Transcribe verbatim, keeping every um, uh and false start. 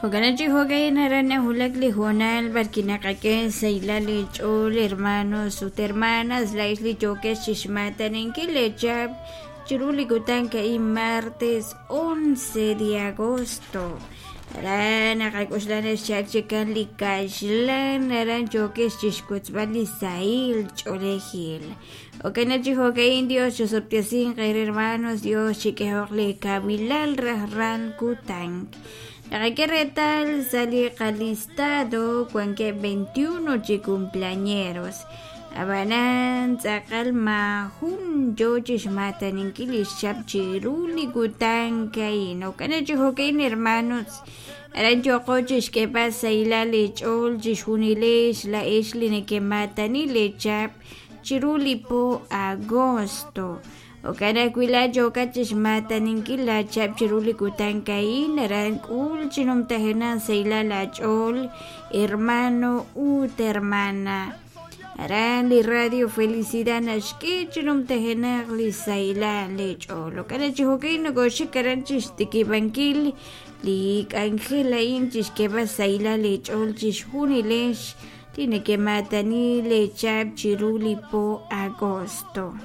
Jo'kan chi jo'kan aran nawulak li hoonal b'ar naqak'e sahilal li ch'ool hermanos ut hermanas laa'ex li yookex chixmaataninkil leechap chiru li kutan a'in martes once de agosto. Aran naqak'oxla naxcha'ak chikan li kaxlan aran yookex chixwotzb'al li sahil ch'oolejil. Jo'kan chi jo'kan Dios chusub'tesinq eere hermanos, Dios chik'ehoq li kawilal rajlal kutan. Naqak'e reetal sa' li qalistado wankeb' veintiuno chi cumpleañeros. Ab'anan tz'aqal maajun yoo chixmaataninkil li xchap chiru li kutan a'in. Jo'kan chi jo'kan hermanos, aran yooqo chixk'eeb'al sahilal li ch'ool chixjunilex laa'ex li nekemaatani leechap chiru li po agosto. Jo'kan ajwi' laa'at yookat chixmaataninkil laachap chiru li kutan a'in, aran k'ul chi numtajenaq sahilal aach'ool hermano ut hermana. Aran li Radio Felicidad naxk'e chi numtajenaq li sahilal leech'ool. Jo'kan chi jo'kan nokoxik aran chixtikib'ankil li k'anjel a'in chixk'eeb'al sahilal leech'ool chixjunilex li nekemaatani leechap chiru li po agosto.